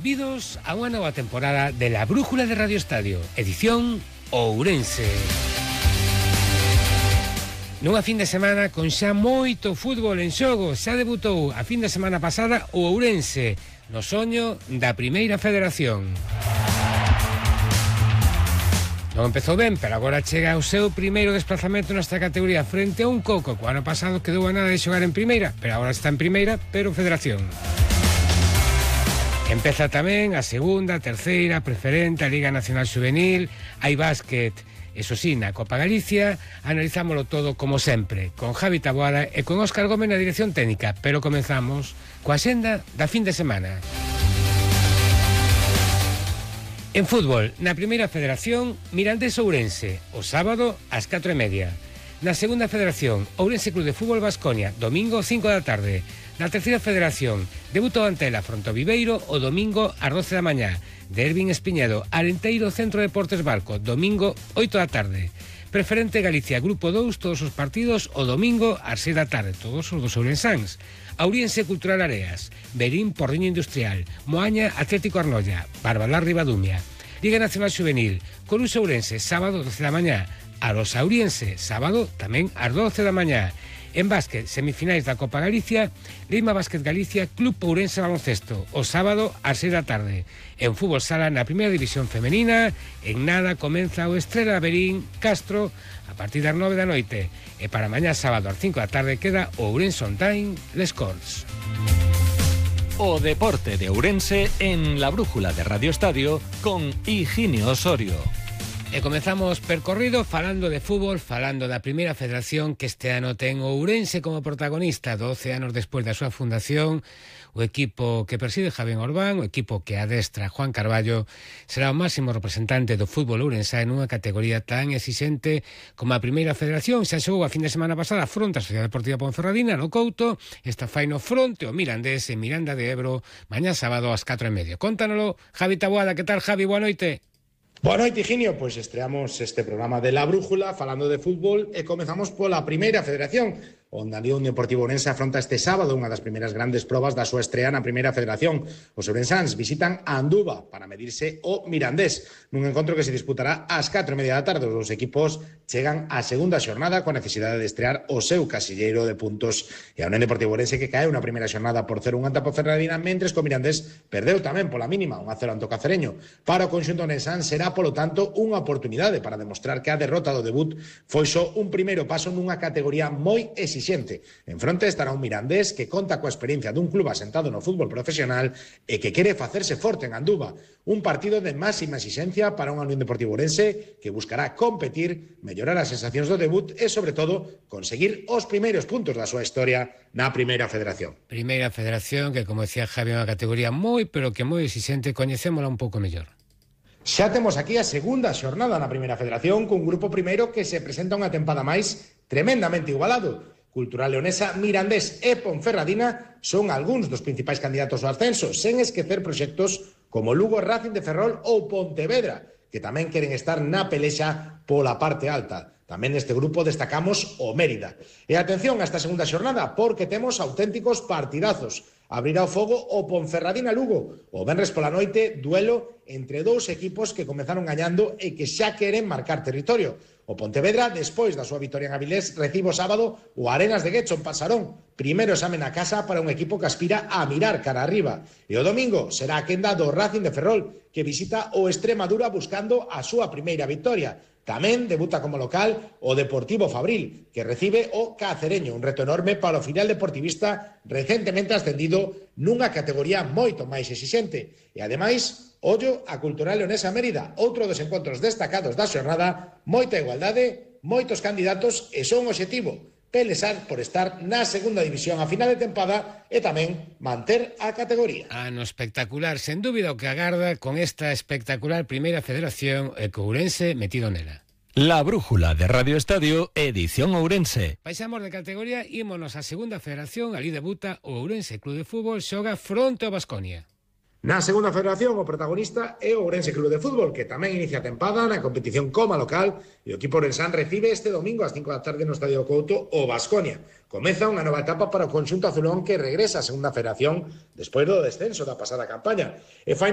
Bienvenidos a unha nova temporada de La Brújula de Radio Estadio, edición Ourense. Nunha fin de semana con xa moito fútbol en xogo, xa debutou a fin de semana pasada o Ourense, no soño da Primeira Federación. Non empezou ben, pero agora chega o seu primeiro desplazamento nesta categoría frente a un Coco, que o ano pasado quedou a nada de xogar en Primeira, pero agora está en Primeira, pero Federación. Empeza tamén a segunda, a terceira, a preferente, a Liga Nacional Juvenil, hai básquet, eso sí, na Copa Galicia. Analizámoslo todo como sempre, con Javi Taboada e con Óscar Gómez na dirección técnica, pero comenzamos coa xenda da fin de semana. En fútbol, na Primeira Federación, Mirandés Ourense, o sábado ás 4:30. Na Segunda Federación, Ourense Club de Fútbol Baskonia, domingo 5 da tarde. Na Terceira Federación, debutou Antela fronte ao Viveiro o domingo ás 12 da mañá. Dervin Espiñedo, Arenteiro Centro Deportes Barco, domingo 8 da tarde. Preferente Galicia, Grupo 2, todos os partidos o domingo ás 6 da tarde, todos os dos ourensáns. Auriense Cultural Areas, Berín Porriño Industrial, Moaña Atlético Arnoia, Barbalá Ribadumia. Liga Nacional Juvenil, Coruxo Ourense, sábado 12 da mañá. Arosa Auriense, sábado tamén ás 12 da mañá. En básquet, semifinais da Copa Galicia, Lima Básquet Galicia, Club Ourense Baloncesto, o sábado ás 6 da tarde. En fútbol sala, na primeira división femenina, en nada comeza o Estrela Berín Castro a partir das 9 da noite. E para mañá sábado ás 5 da tarde queda o Ourense On Time Les Corts. O deporte de Ourense en La Brújula de Radio Estadio con Higinio Osorio. E comezamos percorrido falando de fútbol, falando da Primeira Federación, que este ano ten o Ourense como protagonista, 12 anos despois da súa fundación. O equipo que preside Javier Orbán, o equipo que adestra Juan Carballo, será o máximo representante do fútbol ourense nunha categoría tan exixente como a Primeira Federación. Xa xogou a fin de semana pasada fronte a Sociedade Deportiva Ponferradina no Couto, esta fai no fronte o Mirandés en Miranda de Ebro, mañá sábado ás 4:30. Contánoslo, Javi Taboada. Que tal, Javi? Boa noite. Boa noite, Higinio. Pois estreamos este programa de La Brújula falando de fútbol e comezamos pola Primeira Federación, onde a Unión Deportiva Ourense afronta este sábado unha das primeiras grandes probas da súa estrea na Primeira Federación. Os ourensáns visitan a Anduva para medirse o Mirandés, nun encontro que se disputará ás 4:30 da tarde. Os dous equipos chegan á segunda xornada coa necesidade de estrear o seu casilleiro de puntos, e a Unión Deportiva Ourense que caeu na primeira xornada por 0-1 ante a Ponferradina, mentres que o Mirandés perdeu tamén pola mínima 1-0 ante o Cacereño. Para o conxunto ourensán será, polo tanto, unha oportunidade para demostrar que a derrota do debut foi só un primeiro paso nunha categoría moi exixente. En fronte estará un Mirandés que conta coa experiencia dun club asentado no fútbol profesional e que quere facerse forte en Anduva. Un partido de máxima exixencia para unha Unión Deportiva Ourense que buscará competir, mellorar as sensacións do debut e, sobre todo, conseguir os primeiros puntos da súa historia na Primeira Federación. Primeira Federación que, como decía Javi, é unha categoría moi, pero que moi exixente. Coñecémola un pouco mellor. Xa temos aquí a segunda xornada na Primeira Federación cun grupo primeiro que se presenta unha tempada máis tremendamente igualado. Cultural Leonesa, Mirandés e Ponferradina son algúns dos principais candidatos ao ascenso, sen esquecer proxectos como Lugo, Racing de Ferrol ou Pontevedra, que tamén queren estar na pelexa pola parte alta. Tamén neste grupo destacamos o Mérida. E atención a esta segunda xornada, porque temos auténticos partidazos. Abrirá o fogo o Ponferradina-Lugo. O venres pola noite, duelo entre dous equipos que comenzaron gañando e que xa queren marcar territorio. O Pontevedra, despois da súa vitoria en Avilés, recibe o sábado o Arenas de Guecho en Pasarón. Primeiro exame na casa para un equipo que aspira a mirar cara arriba. E o domingo será a quenda do Racing de Ferrol, que visita o Extremadura buscando a súa primeira victoria. Tamén debuta como local o Deportivo Fabril, que recibe o Cacereño, un reto enorme para o filial deportivista recentemente ascendido nunha categoría moito máis exixente. E ademais, ollo a Cultural Leonesa Mérida, outro dos encontros destacados da xornada, moita igualdade, moitos candidatos e son obxectivo pelexar por estar na segunda división a final de tempada e tamén manter a categoría. Ano espectacular, sen dúbida, o que agarda con esta espectacular Primeira Federación e co Ourense metido nela. La Brújula de Radio Estadio, edición Ourense. Paixamos de categoría, ímonos á Segunda Federación. Ali debuta o Ourense Club de Fútbol, xoga fronte ao Baskonia. Na segunda federación, o protagonista é o Ourense Club de Fútbol, que tamén inicia a tempada na competición como local, e o equipo ourensán recibe este domingo ás 5 da tarde no Estadio Couto o Baskonia. Comeza unha nova etapa para o conxunto azulón que regresa á segunda federación despois do descenso da pasada campaña. E faino